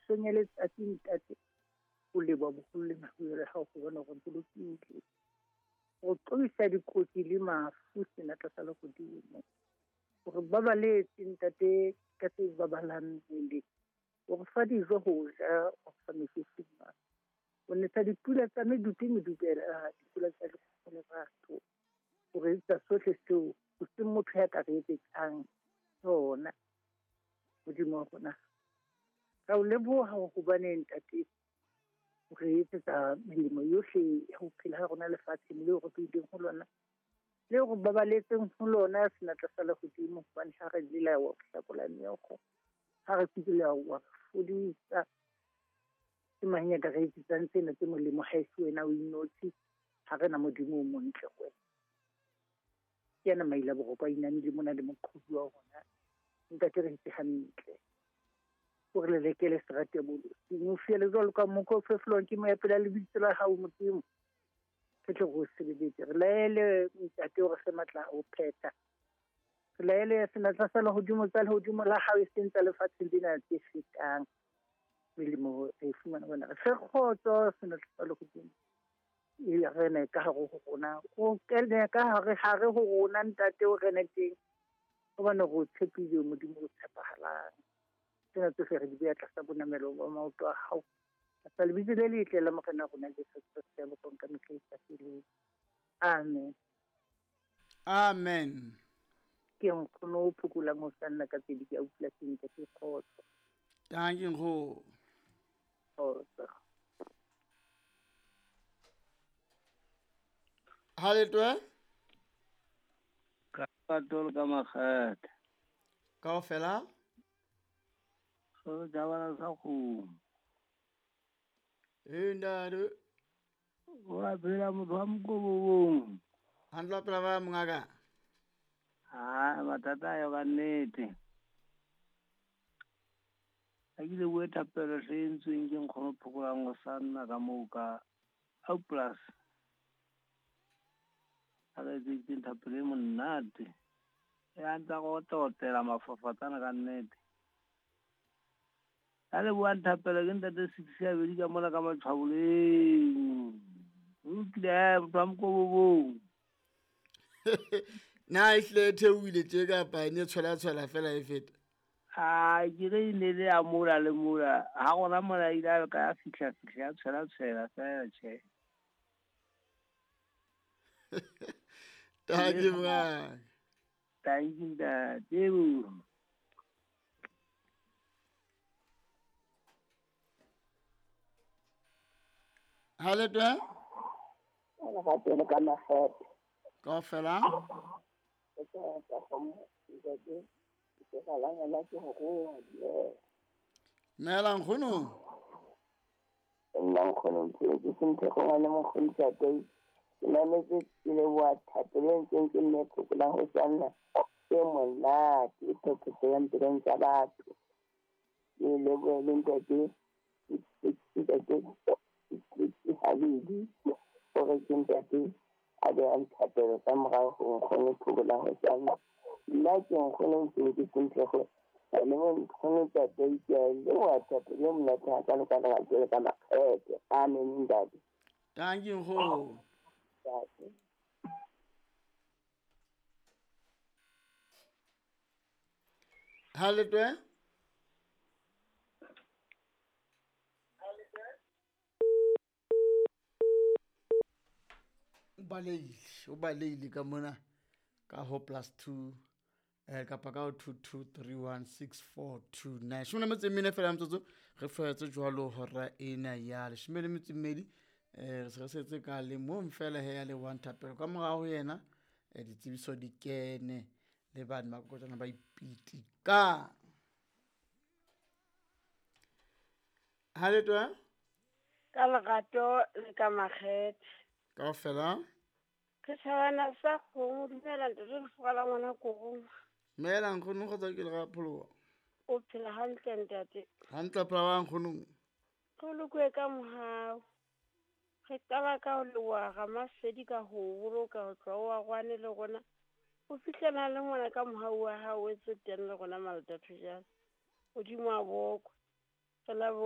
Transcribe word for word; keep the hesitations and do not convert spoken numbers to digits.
Mesong ya letsatsi ntate o leboha boholo le mahlohonolo a hao ho bona hore ntse lokile. O qobisa dikotsi le mafu senatla sa lehodimo. Hore babaletse ntate ka tse babalang mmele. O re fa dijo ho ja, o re fa metsi ho nwa. O nesa dipula tsa medupi medubela, dipula tsa lerato. O re etsa sohle seo o se motho ya ka re etsetsang sona. Modimo wa rona, ra o leboha hobane ntate o re etsetsa melemo yohle ya ho phela ha rona lefatsheng leo re phileng ho lona, leo re babaletseng ho lona senatla sa lehodimo. Hobane ha re lela wa hlakola meokgo, ha re kula wa fodisa. Ke mang ya ka re etsetsang tsena tse molemo ha e se wena o inotshi? Ha re na Modimo o montle ho wena. Ke yena maila boroko a inamile mona le moqhobi wa rona. Ntate re ntse hantle. O re lelekele serati ya bolosing. O fiele jwalo ka mokgwa o fefolwang ke moya pela lebitso la hao Modimo. Re tle re o sebeletse. Re laele ntate o re fe matla a ho phetha. Re laele senatla sa lehodimo tsa lehodimo la hao e seng tsa lefatsheng lena tse fetang. Melemo re e fumana wena. Re fe kgotso senatla sa lehodimo. E rene ka hare ho rona. O kene ka hare hare ho rona ntate o rene teng. Hobane re o tshepile Modimo o tshepahalang. Tsena tsohle re di beha tlasa bonamelo ba maoto a hao. Tlasa lebitso le letle la Morena rona Jesu Kreste ya bokong ka mehla e sa feleng. Amen. Amen. Ke nkgono o phokolang ho sanna ka pedi ke a utlwa sentle ke kgotso. Thank you nkgono. Kgotso. Ha le twe? Ka patolo ka makgethe. Kaofela? So jabana sa kgomo. E ntate. Wa phela motho wa mokobong. Hantle wa phela ba mongaka. Ha mathata a yo ka nnete. A ke le bue thapelo se entsweng ke nkgono phokolang ho sa nna ka moo ka au plus. A re etseditseng thapelo e monate. E a ntsa go otela mafafatsana ka nnete. A le buang thapelo ke ntate six ya bedi ka mona ka matshwaboleng. O lokile motho wa mokobong. Na e hle e theohile tje kapa e ne tshwela tshwela fela e feta? A ke re e ne le ya mola le mola. Ha rona mola ile a ka ya fihla fihla ya tshwela tshwela fela tjhe. Thank you mongaka. Thank you ntate. Ha le twe? Lerato le ka makgethe. Kaofela? Ke tsa kgomo, ntate. Ke galangela ke ho roa. Dumela nkgono. Nna nkgono ke ke sentse go ngwana mokgoni ntate. Ke mametse ke leboha thapelo e ntseng ke mme phokolang ho sanna e monate e phetolang pelong tsa batho. Ke lebohe le ntate ntate habedi hore ke ntate a behang thapelo ka morao ho nkgono phokolang ho sanna. Nna ke nkgono ntseng ke sentle go le nkgono ntate ke a leboha thapelo e monate hakalo ka lerato le ka makgethe. Amen ntate. Thank you nkgono. Ha le twe? O baleile, o baleile ka mona ka ho plus two eh kapa ka ho two two three one six four two nine. Shome le metso e mene fela motsotso re fetse jwalo hora ena ya leshome le metso e mmedi. Eh re se re setse ka le mong fela he ya le one thapelo ka morao ho yena eh ditsebiso di kene le bana ba kokotana ba ipiti ka. Ha le twe? Ka lerato le ka makgethe. Kaofela? Ke thabana sa kgomo, dumela ntate le fola ngwana korong. Dumela nkgono kgotsa ke le ga pholoha. O phela hantle ntate. Hantle phela wa nkgono. Re lokwe ka mohau. Re qala ka ho leboha Ramasedi ka ho boloka ho tloha wa rwane le rona. O fihlela le ngwana ka mohau wa hao o etse teng le rona Maldatho jalo. Modimo a bokwe. Re leboha